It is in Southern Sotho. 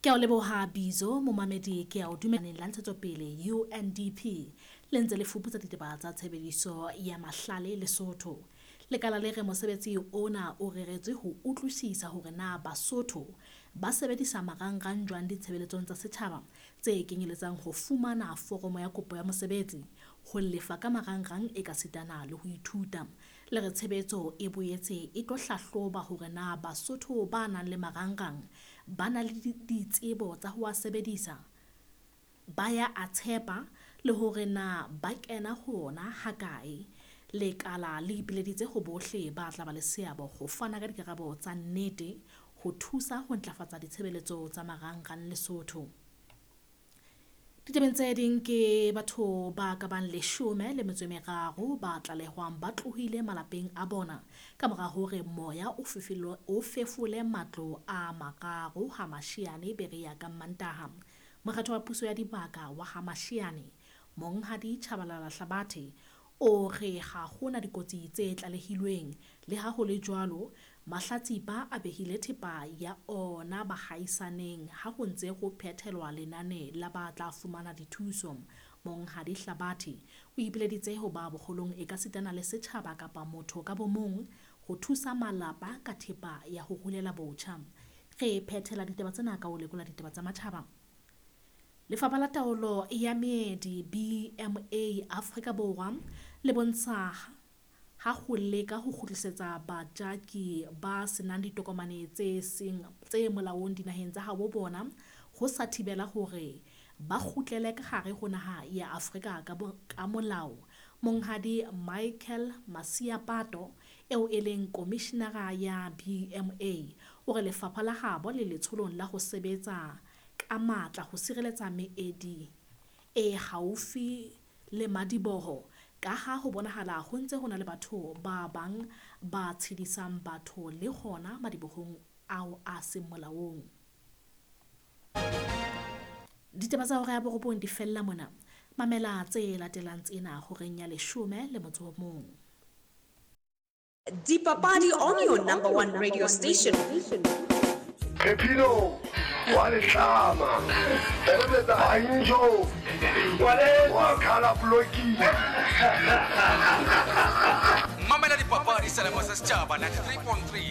Ke a o leboha Bizo, momamedi ke a o dumelaneng la ntshetsopele UNDP le ntse le fuputsa ditaba tsa tshebediso ya mahlale Lesotho. Lekala le re mosebetsi ona o reretswe ho utlwisisa hore na Basotho ba sebedisa marangrang jwang ditshebeletsong tsa setjhaba tse kenyeletsang ho fumana foromo ya kopo ya mosebetsi, ho lefa ka marangrang ekasitana le ho ithuta. Le re tshebetso e boetse e tlo hlahloba hore na Basotho ba nang le marangrang ba na le ditsebo tsa ho a sebedisa, ba ya a tshepa le hore na ba kena ho ona hakae. Lekala le ipileditse ho bohle ba tla ba le seabo ho fana ka dikarabo tsa nnete ho thusa ho ntlafatsa ditshebeletso tsa marangrang Lesotho. Ditabeng tse ding ke batho ba ka bang 13 ba tlalehwang ba tlohile malapeng a bona ka mora hore moya o fefole matlo a mararo ha Mashiane Berea ka Mantaha. Mokgatlo wa puso ya dibaka wa ha Mashiane, Monghadi Tshabalala Hlabathe, o re ha hona dikotsi tse tlalehilweng. Le ha ho le jwalo, mahlatsipa a behile thepa ya ona bahaisaneng ha ho ntse ho phethelwa lenane la ba tla fumana dithuso. Monghadi Hlabathe o ipileditse ho ba boholong ekasitana le setjhaba kapa motho ka bomong ho thusa malapa ka thepa ya ho rulela botjha. Re phethela ditaba tsena ka ho lekola ditaba tsa matjhaba. Lefapha la Taolo ya Meedi BMA Afrika Borwa le bontsha ha ho leka ho kgutlisetsa bajaki ba senang ditokomane tse seng tse molaong dinaheng tsa habo bona ho sa thibela hore ba kgutlele ka hare ho naha ya Afrika ka molao. Monghadi Michael Masiapato eo e leng komishinara ya BMA o re lefapha la habo le letsholong la ho sebetsa ka matla ho sireletsa meedi e haufi le madiboho ka ha ho bonahala ho ntse ho na le batho ba bang ba tshedisang batho le hona madibohong ao a seng molaong. Ditaba tsa hora ya 9 di fella mona. Mamela tse latelang tsena horeng ya 11. Dipapadi on your number one radio station. Pepino wa letlama Banjo wa khala bloki. Mamela dipapadi selemo sa setjhaba 93.3.